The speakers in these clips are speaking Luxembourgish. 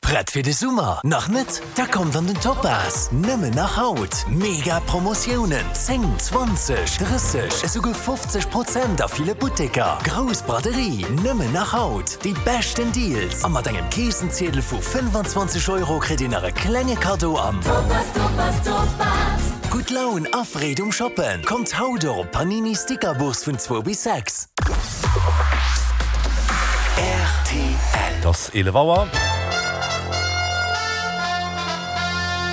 Prett fir de Summer? Nach net? Da kommt an den Topaz! Nëmmen nach haut! Mega Promotiounen, 10, 20, 30, esouguer 50 Prozent a ville Butteker. Grouss Braderie, nëmmen nach haut! Déi beschten Deals a mat engem Keessenziedel vu 25 Euro kritt Dir nach e klenge Kaddo am Topaz, Topaz, Topaz! Gutt Laun a Freed um Shoppen! Kommt haut och op d'Panini Stickerbourse vun zwou bis 6. Et ass 11 Auer.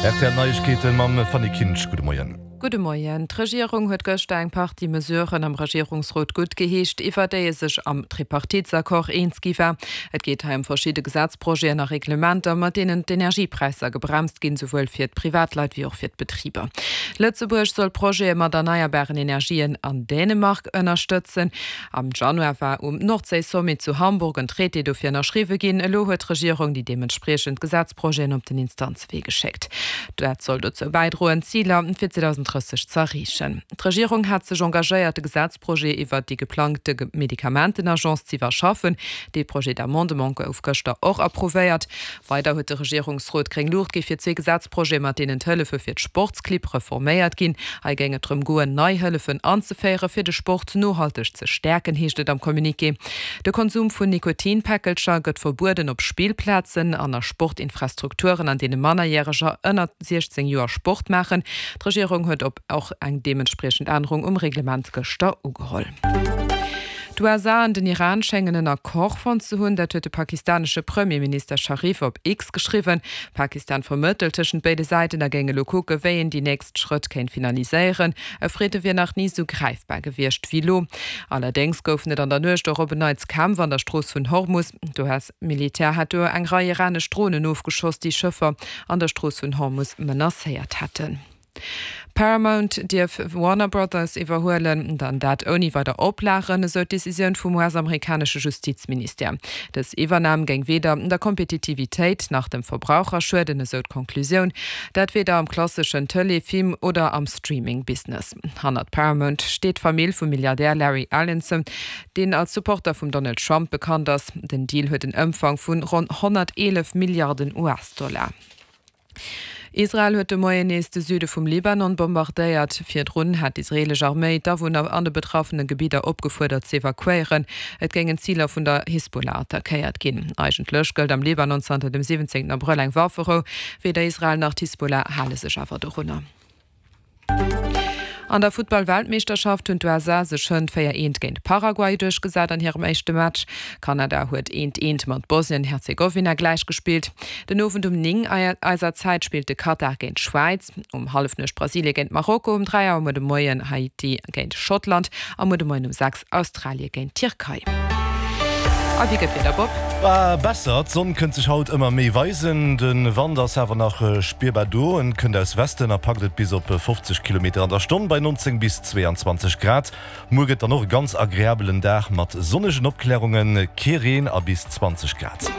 Rtl Neiegkeete mam Fanny Kinsch. Gudde Moien. Gudde Moien. D'Regierung huet gëschter eng Partie Mesuren am Regierungsrot guttgeheescht, iwwer déi ee sech am Tripartitesaccord eens gi war. Et geet hei ëm verschidde Gesetzprojeten a Reglementer, mat deenen d'Energiepräisser gebremst ginn, souwuel fir d'Privatleit wéi och fir d'Betriber. Lëtzebuerg soll Projete mat erneierbaren Energien an Dänemark ënnerstëtzen. Am Januar war um Nordséi-Sommet zu Hamburg en Traité dofir ënnerschriwwe ginn. Elo huet d'Regierung déi deementspriechend Gesetzprojeten op den Instanzewee geschéckt. Dat soll dozou bäidroen, d'Ziler fir 2030 z'erreechen. D'Regierung hat sech engagéiert, de Gesetzprojet iwwert déi geplangte Medikamentenagence z'iwwerschaffen. Dee Projet d'amendement gouf gëschter och approuvéiert. Weider huet de Regierungsrot gréng Luucht gi fir zwee Gesetzprojete, mat deenen d'Hëllefe fir d'Sportsclibb reforméiert ginn. Hei géing et drëm goen, nei Hëllefen anzeféiere fir de Sport nohalteg ze stäerken, heescht et am Communiqué. De Konsum vun Nikotinpäckelcher gëtt verbueden op Spillplazen an a Sportinfrastrukturen, an deene Mannerjäreger ënner 16 Joer Sport maachen. D'Regierung huet op och eng deementspriechend Ännerung um Reglement gëschter ugeholl. D'USA an den Iran schéngen en Accord fonnt ze hunn. Dat huet de pakistanesche Premierminister Sharif op X geschriwwen. Pakistan vermëttelt tëschent béide Säiten a géing elo kucke wéi een déi nächst Schrëtt kéint finaliséieren. E Fridde wier nach ni sou gräifbar gewiescht wéi elo. Allerdéngs goufen et an der Nuecht och op en Neits Kämpf an der Strooss vun Hormus. D'US-Militär hat do eng Rei iranesch Dronen ofgeschoss, déi Schëffer an der Strooss vun Hormus menacéiert hätten. Paramount dierf Warner Brothers iwwerhuelen, dann dat ouni weider Oplagen, esou d'Decisioun vum US-amerikanesche Justizministère. Dës Iwwernam géing weder der Kompetitivitéit nach dem Verbraucher schueden, esou d'Konklusioun. Dat weder am klasseschen Tëlee-, Film oder am Streaming-Business. Hannert Paramount steet d'Famill vum Milliardär Larry Ellison, deen als Supporter vum Donald Trump bekannt ass. Den Deal huet en Ëmfang vun ronn 111 Milliarden US-Dollar. Israel huet de Moien nees de Süde vum Libanon bombardéiert. Virdrun hat d'israeelesch Arméi d'Awunner an de betraffene Gebidder opgefuerdert z'evakuéieren. Et géingen Ziler vun der Hisbollah attackéiert ginn. Eigentlech gëllt am Libanon zanter dem 17 Abrëll eng Wafferou. Weder Israel nach d'Hisbollah hale sech awer dorunner. An der Futtball-Weltmeeschterschaft hunn d'USA sech hënt 4 eent géint Paraguay duerchgesat an hirem éischte Match. Kanada huet eent eent mat Bosnien-Herzegowina gläichgespillt. Den Owend um 9 eiser Zäit spillt de Katar géint d'Schwäiz, um Hallefnuecht Brasilie géint Marokko, um 3 Auer muer de Moien Haiti géint Schottland a muer de Moien um 6 Australie géint d'Tierkei. A wéi gëtt d'Wieder, Bob? Besser, d'Sonn kënnt sech haut ëmmer méi weisen, de Wand ass awer nach spierbar do. En kënnt aus Westen a packt et bis op 50 Kilometer an der Stonn bei 19 bis 22 Grad. Muer gëtt dann och e ganz agreabelen Dag mat sonnegen Opklärungen, kee Reen a bis 20 Grad.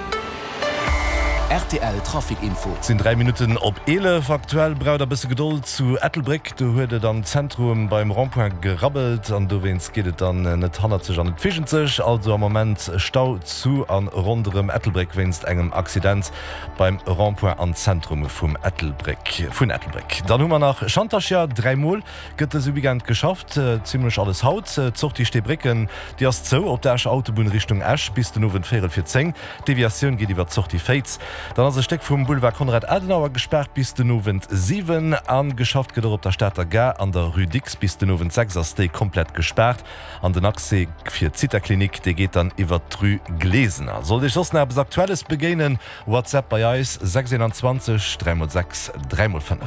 Rtl Trafic Info. Et sinn 3 Minutten op 11. Aktuell braucht der bësse Gedold zu Ettelbréck. Do huet et am Zentrum beim Rond-point gerabbelt an dowéinst geet et dann net hannerzeg an net virgenzeg. Also am Moment Stau zu an ronderëm Ettelbréck wéinst engem Accident beim Rond-point am Zentrum vum Ettelbréck vun Ettelbréck. Dann hu mer nach Schantercher, 3 mol gëtt dëse Weekend geschafft, zimmlech alles haut. D'Sortie Steebrécken déi ass zou op der Escher Autobunn Richtung Esch bis den Owend véierel vir 10. D'Deviatioun geet iwwer d'Sortie Féiz. Dann ass e Stéck vum Boulevard Konrad Adenauer gespaart bis den Owend 7 a geschafft gëtt och op der Stater Gare an der Rue Dicks. Bis den Owend 6 ass déi komplett gespaart an den Accès fir d'Zithaklinik, dee geet dann iwwer d'Rue Glesener. Sollt Iech soss nach eppes Aktuelles begéinen, WhatsApp bei eis 6 21 3 x 6 3 x 5.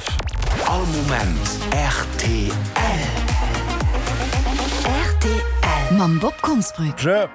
All Moment rtl. Rtl. Mam Bob Konsbrück. Jö.